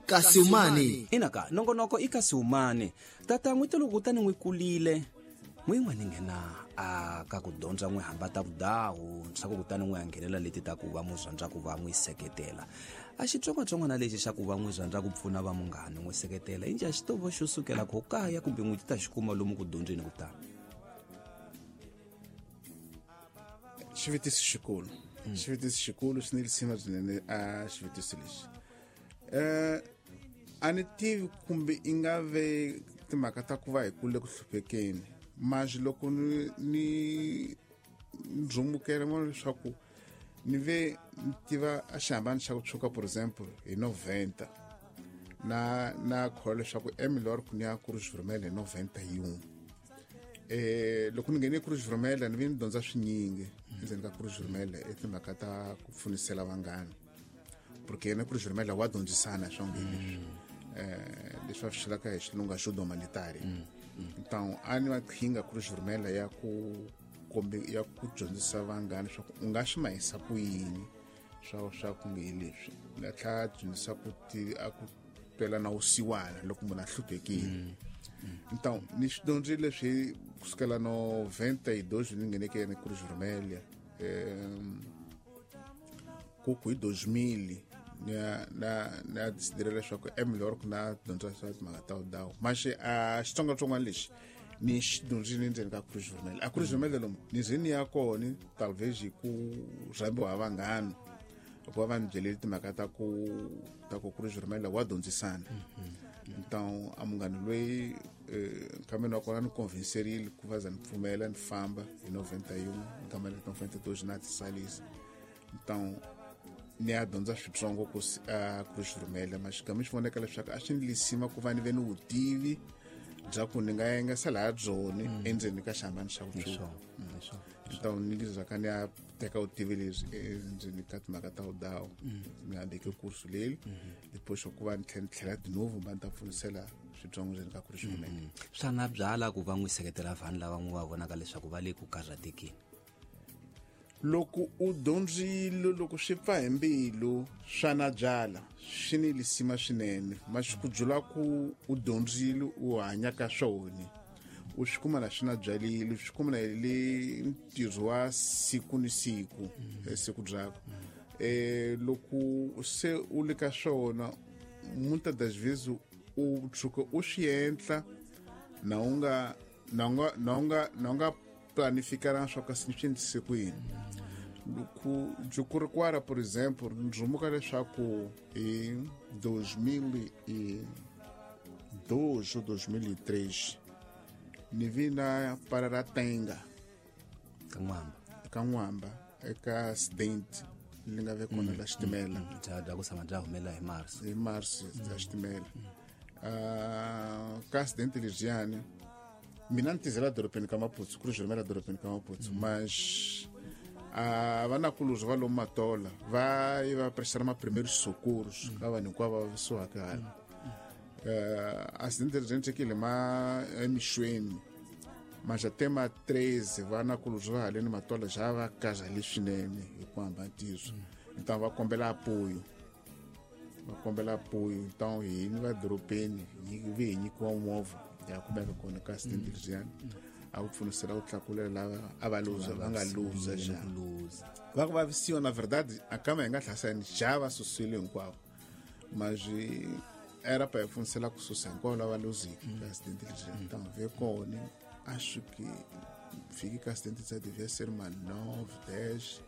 Kasiumani. Ina ka nongonoko i Kasiumani. Tata n'witi loko kutani n'wi kulile n'wi n'we ni nghena a ka ku dyondza n'wi hamba ta vudawu swa ku kutani n'wi ya nghenela leti ta ku va n'wi rhandza ku va n'wi seketela. A xitsongwatsongwana lexi xa ku va n'wi rhandza ku pfuna va munghani n'wi seketela inji a xi to va xo sukela ko kaya kumbe n'wi ti ta xi kuma lomu ku dyondzeni ku tala. Xivutiso xikulu. Xivutiso xikulu xi ni risima swinene a xivutiso lexi. A ni tivi kumbe i nga ve timhaka ta ku va hi kule ku hluphekeni, mas loko ni ndzumukela mona leswaku ni ve ni tiva a xihambano xa ku tshuka, por exemple hi 90 na kholwa leswaku emilor ku ni ya Cruz Vermelha hi 91. Loko ni nghene Cruz Vermelha ni ve ni dyondza swinyingi endzeni ka Cruz Vermelha i timhaka ta ku pfunisela vanghana, porque yena Cruz Vermelha wa dyondzisana swa nge leswi leswi va swi vulaka hi xilungu ajuda humanitária. Então a ni maqhinga Cruz Vermelha ya ku kombe ya ku dyondzisa vanghana leswaku u nga swi mahisa ku yini swa ku nge leswi na tlhela dyondzisa ku ti a ku twela na wusiwana loko munhu a hluphekile. Então ni swi dyondzile leswi kusukela 92 ni ngheneke yena Cruz Vermelha, ku hi 2000 na decidile leswaku é melhor ku na dyondza swa timhaka ta vudawu, mas a xitsongwatsongwana lexi ni xi dyondzile endzeni ka Cruz Vermelha. A Cruz Vermelha lomu ni ze ni ya kona talvez hi ku rhambiwa hi vanghana, hikuva va ni byelele timhaka ta ku Cruz Vermelha wa dyondzisana. Então a munghana loyi nkambeni wa kona ni convincerile ku va za ni pfumela ni famba hi 91 nkamba ni 92 na tisalisa. Então ni ya dyondza switsongo ku a Cruz Vermelha, mas xigama xi voneka leswaku a swi ni lisima ku va ni ve ni vutivi bya ku ni nga yengesa laha byoni endzeni ka xihambano xa ku tshuka. Então ni lizaka ni ya teka vutivi lebyi endzeni ka timhaka ta vudawu, ni hambeke kursu leri depois ku va ni tlhela ni tlhela de novo va ni ta pfunisela switsongo ndzeni ka Cruz Vermelha. Swa na byala ku va n'wi seketela vanhu lava n'wi va vonaka leswaku va le ku karhatekeni? Loko u dyondzile, loko swi pfa hi mbilu, swa na byala swi ni lisima swinene, mas ku byula ku u dyondzile u hanya ka swona u swi kuma na swi na byalile, swi kuma na hi le ntirho wa siku ni siku siku byakwe. Loko se u le ka swona, muitas das vezes u tshuka u swi endla na u nga na u nga na u nga na u nga planificaranga swa kasi ni swi endlise ku yini. Loko Jukurikwara, por exemple, ndzumuka leswaku hi 2002 ou 2003 ni vi na para ra tenga ka n'wamba. Ka n'wamba eka accident li nga ve kona la xitimela. Bya ku tshama bya humelela hi mars. Hi mars ya xitimela. Ka accident lebyiyani mina ni tizela dorobeni ka Maputo, Cruz Vermelha dorobeni ka Maputo, mas a vanakulorhi va lomu Matola va yi va prestara ma primeiros socorros ka vanhu hinkwavo va vavisiwaka hala. Accident leri endlekile ma emixweni, mas até ma 13 vanakulorhi va haleni Matola ja va kazale swinene hi ku hamba ntirho. Então va kombela apoio, va kombela apoio. Então hini va dorobeni vi hi nyikiwa movha ya kumeka kona ka accident leriyani a ku pfunisela ku tlakulela lava a va luza, va nga luza ja va ku vavisiwa. Na verdade a kama hi nga hlasani ja va susile hinkwavo, mas era pa hi pfunisela ku susa hinkwavo lava luziki ka accident leriyani. Então ve kona acho que fiki ka accident tsa devia ser ma 9 10.